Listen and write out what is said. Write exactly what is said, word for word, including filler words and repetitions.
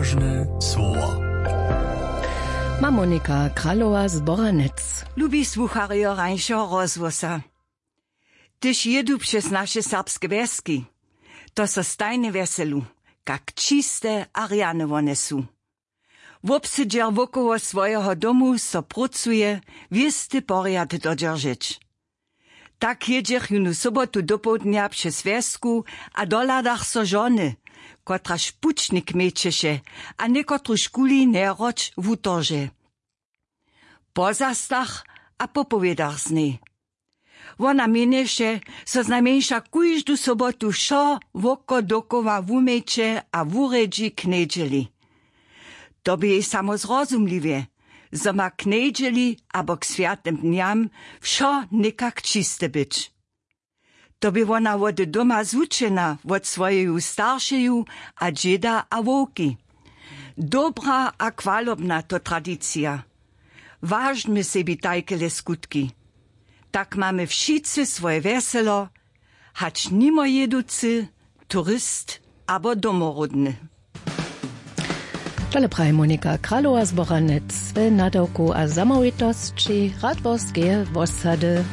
Ważne słowa. Ma Monika Kralowa z Boranec. Lubi słucharjo rańšeho rozhłosa. Hdyž jědu přez naše serbske wjeski, to so stajnje wjeselu, kak čiste a rjane wone su. Wobsydźer wokoło swojeho domu so prócuje wěsty porjad dodźeržeć. Tak jědźech jónu sobotu dopołdnja přez wjesku a dohladach so žony, kotraž pućnik měćeše a někotruž kuli njeroć wutorže. Po zastach a po powědach z njej. Wona měnješe, zo znajmjeńša kóždu sobotu wšo wokodokoła wuměće a wurjedźi k njedźeli. To bě jej samo zrozumliwje, zo ma k njedźeli abo k swjatym dnjam wšo někak čiste być. To bě wona wody doma zwučena wot swojeju staršeju a dźěda a wowki. Dobra a chwalobna to tradicija. Wažmy sebi tajkele skutki. Tak mamy wšitcy swoje wjeselo, hač nimojěducy, turist abo domoródny. Tole praji Monika Kralowa z Boranec. We nadawku a zamołwitosći Radworskeje wosady.